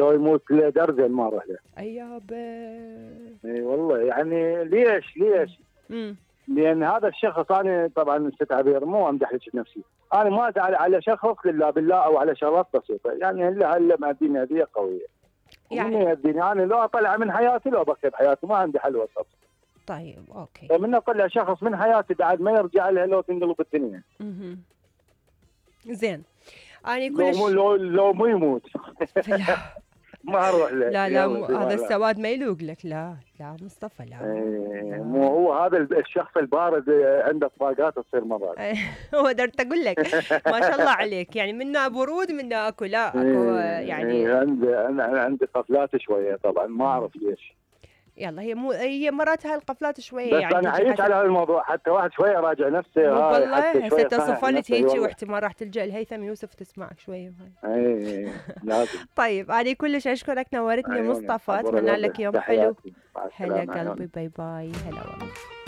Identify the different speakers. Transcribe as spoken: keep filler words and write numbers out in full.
Speaker 1: لو يموت له درزن ما اروح له.
Speaker 2: اي يابا.
Speaker 1: اي والله يعني ليش ليش؟
Speaker 2: امم
Speaker 1: لان هذا الشخص انا طبعا ست عبير مو امدح لك نفسي، انا ما ازعل على شخص الا بالله او على شغلات بسيطه، يعني هلا هلا ماديني هديه قويه.
Speaker 2: يعني
Speaker 1: ومن يهديني انا لو اطلع من حياتي لو بقي بحياتي ما عندي حل وسط.
Speaker 2: طيب اوكي.
Speaker 1: فمن اطلع شخص من حياتي بعد ما يرجع لها لو تنقلب الدنيا.
Speaker 2: اها زين. انا
Speaker 1: لو
Speaker 2: كلش
Speaker 1: مو لو لو مو يموت
Speaker 2: لا
Speaker 1: ما اروح له.
Speaker 2: لا لا مو هذا السواد ما يلوق لك. لا لا مصطفى لا,
Speaker 1: ايه
Speaker 2: لا.
Speaker 1: مو هو هذا الشخص البارد عنده طاقات تصير مرات.
Speaker 2: هو درت اقول لك ما شاء الله عليك، يعني منا برود منا اكو لا اكو يعني
Speaker 1: ايه عندي انا عندي قفلات شويه طبعا ما اعرف ليش.
Speaker 2: يلا هي مو هي مرات هاي القفلات شويه
Speaker 1: بس
Speaker 2: يعني
Speaker 1: انا عييت على هذا الموضوع حتى واحد شويه راجع نفسه.
Speaker 2: مو
Speaker 1: هاي
Speaker 2: والله
Speaker 1: حتى
Speaker 2: هسه
Speaker 1: شويه
Speaker 2: تصفلت هيجي واحتمال راح تلجأ الهيثم يوسف تسمعك شويه هاي.
Speaker 1: اي لازم.
Speaker 2: طيب انا كلش اشكرك نورتني
Speaker 1: أيوة
Speaker 2: مصطفى، اتمنى لك يوم حلو. هلا قلبي باي باي. هلا والله.